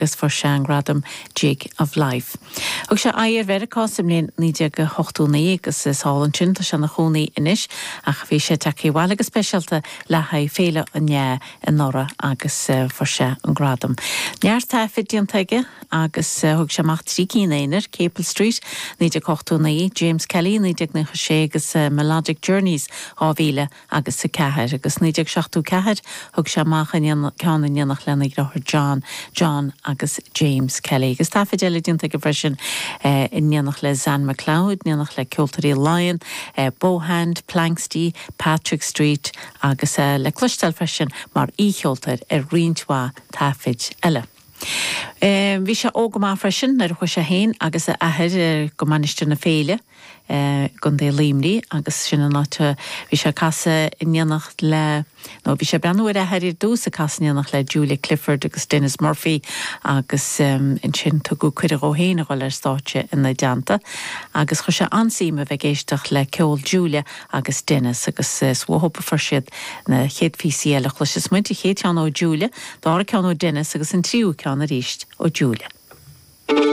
Agus fuair sé an gradam Jig of Life. Thug sé aghaidh ar Mheiriceá sa mbliain 1989 agus is thall ansin tá sé ina chónaí anois ach bhí sé tagtha abhaile go speisialta le haghaidh Féile an NEAI anuraidh agus fuair sé an gradam. Neart taifid déanta aige agus thug sé amach 3 cinn aonair, Capel Street, 1989, James Kelly, 1996 agus Melodic Journeys, 2000. agus 4, agus 1974 thug sé amach ceann in éineacht lena dheartháir John, John agus James Kelly. Agus taifid eile déanta aige freisin in éineacht le Zan MacLeod, in éineacht le Ceoltóirí Laighean, Bowhand, Planxty, Patrick Street agus le cloisteáil freisin mar aoicheoltóir ar roinnt mhaith taifid eile. Bhí sé óg go maith freisin nuair a chuaigh sé féin agus a athair go Mainistir na Féile i gContae Luimnigh agus sin an áit a bhí sé ag casadh in éineacht le, nó bhí sé ag breathnú ar a athair ar dtús ag casadh in éineacht le Julia Clifford agus Denis Murphy agus ansin tugadh cuireadh dhó féin a dhul ar stáitse ina dteannta agus chuir sé an-suim a bheith ag éisteacht le ceol Julia agus Denis agus is uathu a fuair siad na chéad phíosaí eile a chloisfeas muid, an chéad cheann ó Julia, dara ceann ó Denis agus an tríú ceann arís ó Julia.